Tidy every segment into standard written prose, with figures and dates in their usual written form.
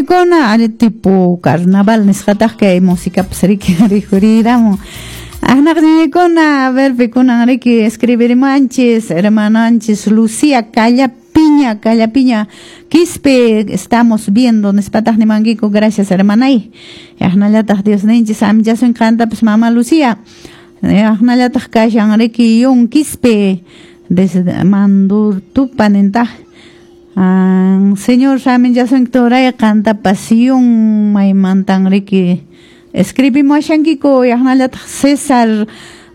ñañaykuna ari tipo carnaval nisqataq kay músicapas riki rikhuriramun. Aqnaq ñañaykuna, a ver pikunan riki escribirimanchis, hermananchis Lucía Callapiña, Callapiña Quispe, estamos viendo nispataq nimankiku, gracias hermanay. Aqnallataq Dios ninchis amchasun qantapas mama Lucía. Aqnallataq kashan riki Yun Quispe desde Mandurtupa nintaq. Señor saminchasun turay qantapas Yun maymantan riki escribimuashankiku. Aqnallataq César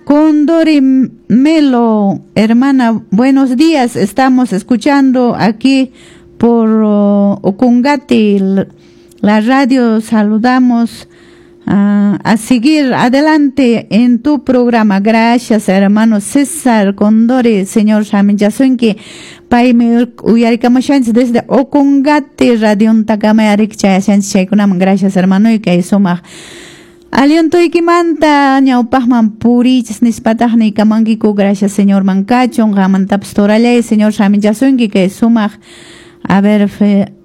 Condori Melo, hermana, buenos días, estamos escuchando aquí por Ocongate la radio, saludamos a seguir adelante en tu programa. Gracias, hermano César Condori, señor saminchasunki, paymi uyarikamushanchis desde Ocongate, radiontakama arik chayashanchis chaykunaman. Gracias, hermano, y kay sumaq alientoykimanta ñawpaqman purichis nispataq niykamankiku. Gracias, señor mankachun qanmantapas torallay, señor saminchasunki kay sumaq. A ver,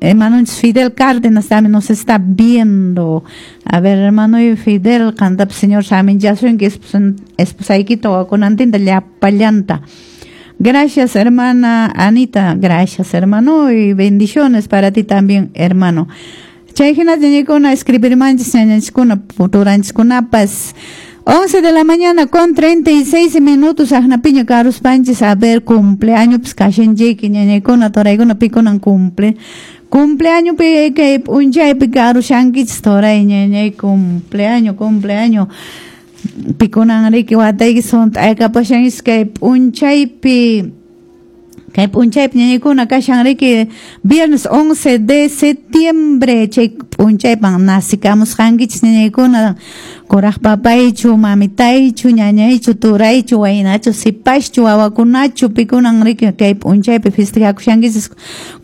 hermano Fidel Cárdenas también nos está viendo. A ver, hermano Fidel, qantapas señor saminchasunki, esposaykita wakunantinta llapallanta. Gracias, hermana Anita. Gracias, hermano. Y bendiciones para ti también, hermano. Chay hina ñañaykuna escribirmanchis ñañanchiskuna turanchikunapas. 11 de la mañana con 36 minutos, aqnapiña karuspanchis, a ver, cumpleaños pues kashanchiki ñañaykuna turaykuna pikunan cumpleaños pi kay p'unchaypi karushankichis turay ñañay cumpleaños cumpleaños pikunan riki watayki sunt'aykapushankichis kay p'unchaypi. Kay p'unchaypi ñañaykuna kashan riki viernes 11 de septiembre, chay p'unchaypan nacikamusqankichis ñañaykuna, kuraq papaychu, mamitaychu, ñañaychu, turaychu, waynachu, sipaschu, wawakunachu, pikunan riki kay p'unchaypi festejakushankichis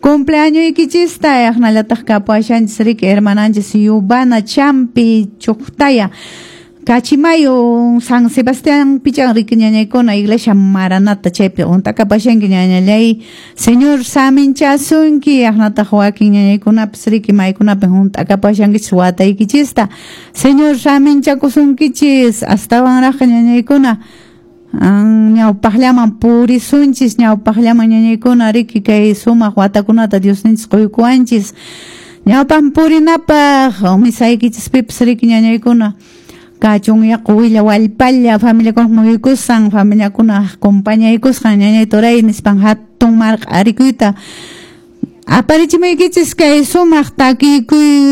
cumpleañoykichista. Aqnallataq kapuashanchis riki hermananchis Yubana Champi Chuqtaya Cachimayo, San Sebastián Pichan riki ñañaykuna, iglesia Maranata chaypi unt'akapashanki ñañallay, señor saminchasunki. Aqnataq wakin ñañaykunapas riki maykunapi hunt'akapashankichis wataykichista, señor saminchakusunkichis astawanraq ñañaykuna ñawpaqllaman purisunchis ñawpaqllaman ñañaykuna riki kay sumaq watakunata Diosninchis quykuwanchis ñawpaq purinapaq misaykichispipas riki ñañaykuna kachun yaqu willa wallpalla familiakuna muyukusqan familiakuna compañaykusqan ñañay turay nispan hatun marq'arikuyta aparichimuykichis kay sumaq takikuy.